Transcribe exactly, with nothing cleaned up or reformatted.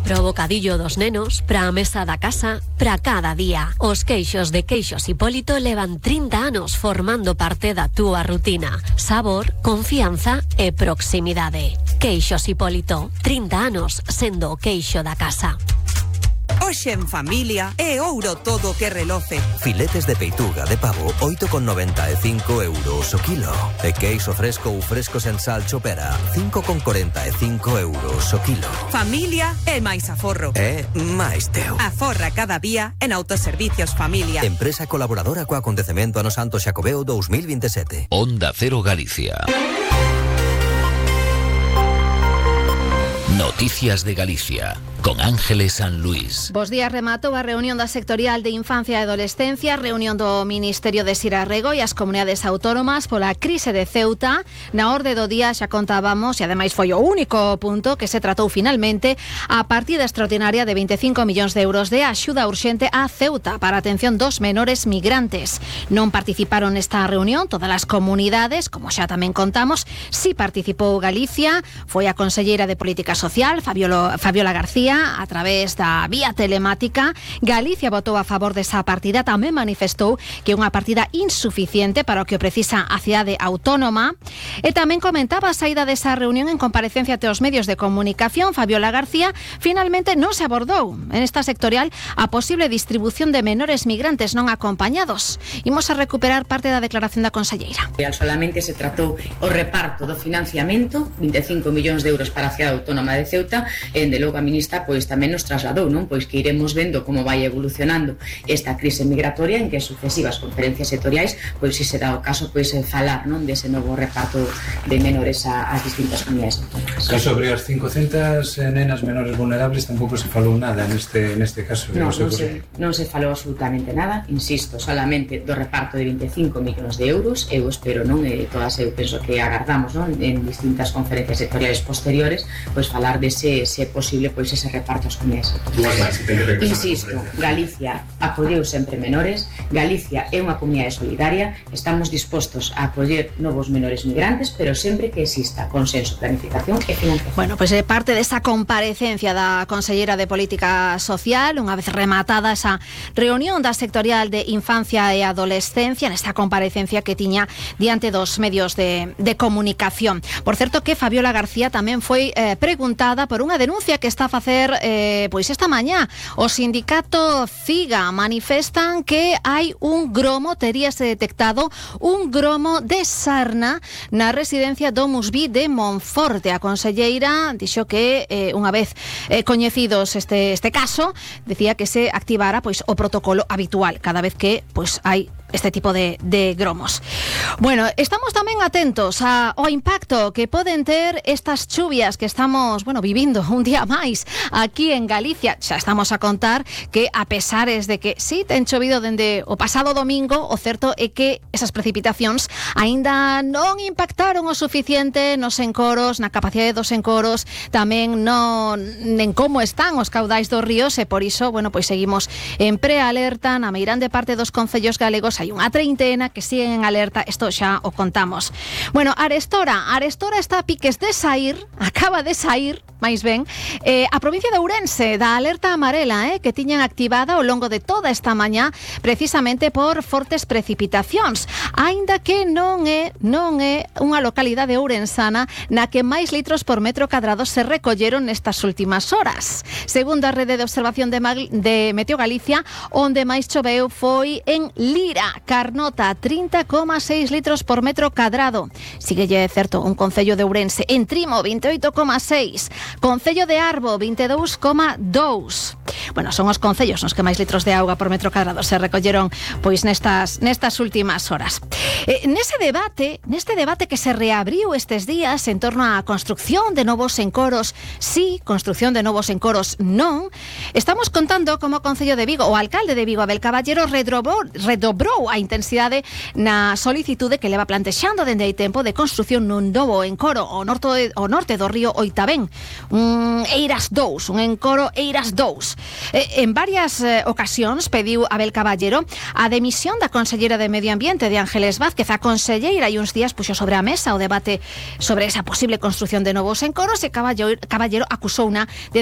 Pro bocadillo dos nenos, pra mesa da casa, pra cada día. Os queixos de Queixos Hipólito levan trinta anos formando parte da túa rutina. Sabor, confianza e proximidade. Queixos Hipólito, trinta anos sendo o queixo da casa. Hoxe en familia é ouro todo que reloce. Filetes de peituga de pavo oito con noventa e cinco euros o kilo. E queixo fresco ou fresco sen sal chopera cinco con cuarenta e cinco euros o kilo. Familia é máis aforro. É máis teu. Aforra cada día en Autoservicios Familia. Empresa colaboradora co acontecemento Ano Santo Xacobeo dos mil veintisiete. Onda Cero Galicia. Noticias de Galicia, con Ángeles San Luis. Bos días, rematou a reunión da sectorial de Infancia e Adolescencia, reunión do Ministerio de Sirarrego e as comunidades autónomas pola crise de Ceuta. Na orde do día xa contábamos, e ademais foi o único punto que se tratou finalmente, a partida extraordinaria de veinticinco millóns de euros de axuda urxente a Ceuta para a atención dos menores migrantes. Non participaron nesta reunión todas as comunidades, como xa tamén contamos. Si participou Galicia, foi a conselleira de Política Social, Fabiola, Fabiola García, a través da vía telemática. Galicia votou a favor desa partida, tamén manifestou que é unha partida insuficiente para o que o precisa a cidade autónoma, e tamén comentaba a saída desa reunión en comparecencia ante os medios de comunicación. Fabiola García, finalmente non se abordou en esta sectorial a posible distribución de menores migrantes non acompañados. Imos a recuperar parte da declaración da conselleira. Solamente se tratou o reparto do financiamento, veinticinco millóns de euros para a cidade autónoma de Ceuta, e de logo a ministra pois tamén nos trasladou, non? Pois que iremos vendo como vai evolucionando esta crise migratoria, en que sucesivas conferencias sectoriais pois se será o caso pois falar, non, dese novo reparto de menores ás distintas comunidades autónomas. Que sobre as cincocentas nenas menores vulnerables tampouco se falou nada neste neste caso. Non, non se, non se falou absolutamente nada, insisto, solamente do reparto de veinticinco millóns de euros. Eu espero, non, e todas eu penso que agardamos, non, en distintas conferencias sectoriais posteriores, pois falar dese se posible pois ese reparto ás comunidades autónomas. Insisto, Galicia acolleu sempre menores, Galicia é unha comunidade solidaria, estamos dispostos a acoller novos menores migrantes, pero sempre que exista consenso, planificación e financiación. Bueno, pois pues, é parte desa comparecencia da conselleira de Política Social, unha vez rematada esa reunión da sectorial de Infancia e Adolescencia, nesta comparecencia que tiña diante dos medios de, de comunicación. Por certo que Fabiola García tamén foi eh, preguntada por unha denuncia que está a facer eh, pois esta mañá. O sindicato CIGA manifestan que hai un gromo, teríase detectado un gromo de sarna na residencia Domus Vi de Monforte. A conselleira dixo que eh, unha vez eh, coñecidos este, este caso, decía que se activara pois o protocolo habitual cada vez que pois hai este tipo de, de gromos. Bueno, estamos tamén atentos a, ao impacto que poden ter estas chuvias que estamos, bueno, vivindo un día máis aquí en Galicia. Xa estamos a contar que a pesares de que sí, ten chovido dende o pasado domingo, o certo é que esas precipitacións aínda non impactaron o suficiente nos encoros, na capacidade dos encoros, tamén non en como están os caudais dos ríos, e por iso, bueno, pois seguimos en prealerta na meirande parte dos concellos galegos. Hai unha treintena que siguen en alerta, isto xa o contamos. Bueno, Arestora, Arestora está a piques de sair, acaba de sair, máis ben, eh, a provincia de Ourense da alerta amarela, eh, que tiñan activada ao longo de toda esta mañá, precisamente por fortes precipitacións, aínda que non é non é unha localidade ourensana na que máis litros por metro cadrado se recolleron nestas últimas horas. Segundo a rede de observación de, Mag de Meteo Galicia, onde máis choveu foi en Lira, Carnota, trinta coma seis litros por metro cadrado. Síguelle, certo, un concello de Ourense. En Trimo, veintioito coma seis. Concello de Arbo, veintidós coma dous. Bueno, son os concellos nos que máis litros de auga por metro cadrado se recolleron pois nestas nestas últimas horas. Eh, nese debate, neste debate que se reabriu estes días en torno á construcción de novos encoros, sí, construcción de novos encoros, non, estamos contando como o Concello de Vigo, o alcalde de Vigo, Abel Caballero, redobrou, redobrou a intensidade na solicitude que leva plantexando dende hai tempo de construcción nun novo encoro ao norte, ao norte do río Oitabén, un Eiras dous, un encoro Eiras dous. Eh, en varias eh, ocasións pediu Abel Caballero a demisión da conselleira de Medio Ambiente, de Ángeles Vázquez. A conselleira e uns días puxo sobre a mesa o debate sobre esa posible construcción de novos encoros, e Caballero, Caballero acusou una de